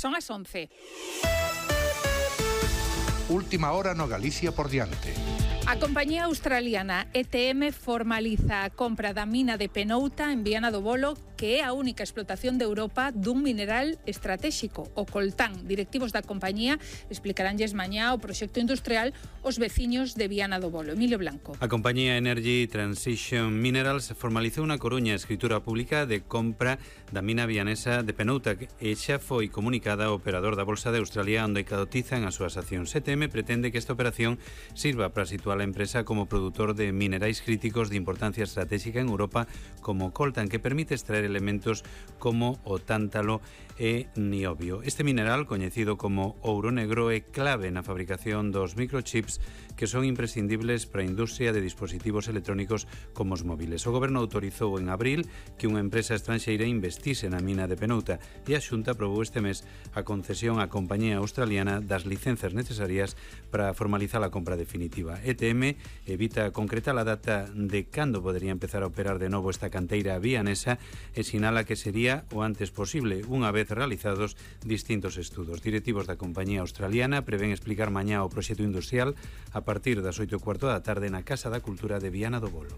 Son as 11. Última hora no Galicia por diante. A compañía australiana ETM formaliza a compra da mina de Penouta en Viana do Bolo, que é a única explotación de Europa dun mineral estratéxico, o coltán. Directivos da compañía explicaránlles mañá o proxecto industrial aos veciños de Viana do Bolo. Emilio Blanco. A compañía Energy Transition Minerals formalizou na Coruña a escritura pública de compra da mina vianesa de Penouta, e xa foi comunicada ao operador da Bolsa de Australia, onde cotizan as súas accións. ETM pretende que esta operación sirva para situar a empresa como produtor de minerais críticos de importancia estratégica en Europa, como coltan, que permite extraer elementos como o tántalo e niobio. Este mineral, coñecido como ouro negro, é clave na fabricación dos microchips que son imprescindibles para a industria de dispositivos electrónicos como os móviles. O Goberno autorizou en abril que unha empresa estranxeira investise na mina de Penouta, e a Xunta aprobou este mes a concesión á compañía australiana das licencias necesarias para formalizar a compra definitiva. ETM evita concretar a data de cando podería empezar a operar de novo esta canteira vianesa e sinala que sería o antes posible, unha vez realizados distintos estudos. Directivos da compañía australiana prevén explicar mañá o proxecto industrial a partir das 8:15 da tarde na Casa da Cultura de Viana do Bolo.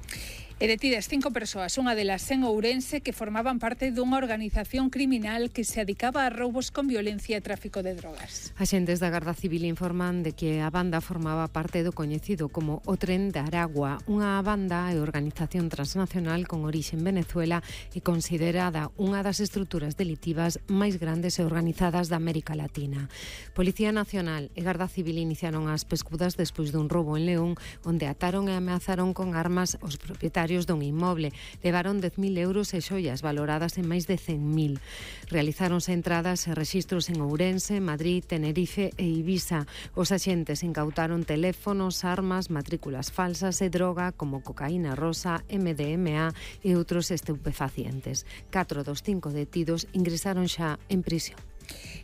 E detidas 5 persoas, unha delas en Ourense, que formaban parte dunha organización criminal que se dedicaba a roubos con violencia e tráfico de drogas. Axentes da Garda Civil informan de que a banda formaba parte do coñecido como o Tren de Aragua, unha banda e organización transnacional con orixe en Venezuela e considerada unha das estruturas delitivas máis grandes e organizadas da América Latina. Policía Nacional e Garda Civil iniciaron as pescudas despois dun roubo en León, onde ataron e ameazaron con armas os propietarios dun inmoble. Levaron 10.000 euros e xoias valoradas en máis de 100.000. Realizáronse entradas e rexistros en Ourense, Madrid, Tenerife e Ibiza. Os axentes incautaron teléfonos, armas, matrículas falsas e droga como cocaína rosa, MDMA e outros estupefacientes. 4 dos 5 detidos ingresaron xa en prisión.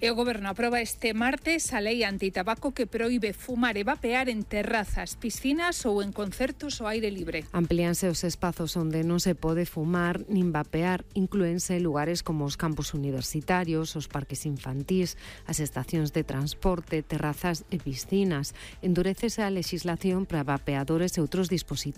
E o Goberno aproba este martes a lei antitabaco que proíbe fumar e vapear en terrazas, piscinas ou en concertos ao aire libre. Amplíanse os espazos onde non se pode fumar nin vapear, inclúense lugares como os campus universitarios, os parques infantís, as estacións de transporte, terrazas e piscinas. Endurécese a legislación para vapeadores e outros dispositivos.